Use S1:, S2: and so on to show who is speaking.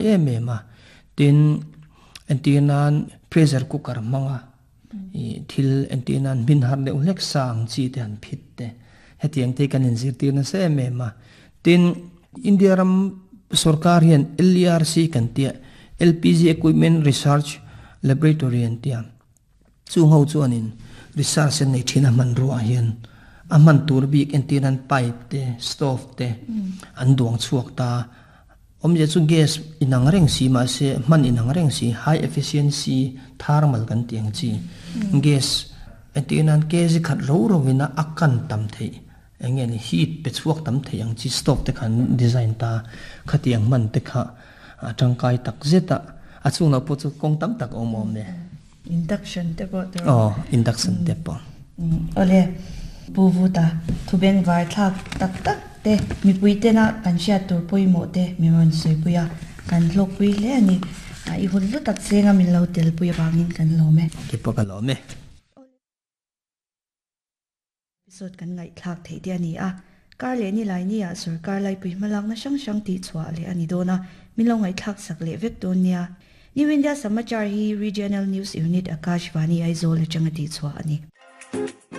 S1: Em em a. Tin, entir nan pressure cooker hmanga ih thil entir nan hmin har deuh hlek sa ang chi te han phit te hetiang te hi kan inzirtir nasa em em a. Tin, India ram sorkar hian LERC kan tia LPG Equipment Research Laboratory an tia. Chung ho chuanin research an nei thin a hmanrua ah hian a hman tur bik entir nan pipe te stove te an duang chhuak ta awmzia chu gas inang reng si mahse hman inang reng si high efficiency thermal kan tih ang chi gas entir nan kg khat ro ro in a kan tam theih eng nge ni heat pe chhuak tam theih ang chi stove te kha an design ta khatiang hman te kha a tangkai tak zet a a chhungah pawh chu kawng tam tak a awm awm e.
S2: Induction te pawh tur.
S1: Aw, induction te pawh.
S2: Awle, Pu Vuta, thu bengvar thlak tak tak te, mipui tena kan hriat tur pawimawh te min rawn sawipui a, kan hlawkpui hle a ni. I hun hlu tak chenga min lo telpui avangin kan lawm e.
S1: Keipawh ka lawm e.
S2: Episode kan ngaihthlak theih te a ni a, kar leh nilai nia sorkar laipui hmalakna hrang hrang tihchhuah leh a ni dawn a, min lo ngaihthlak sak leh vek dawn nia. New India Samachar hi Regional News Unit Akashvani Aizawl atanga tihchhuah a ni.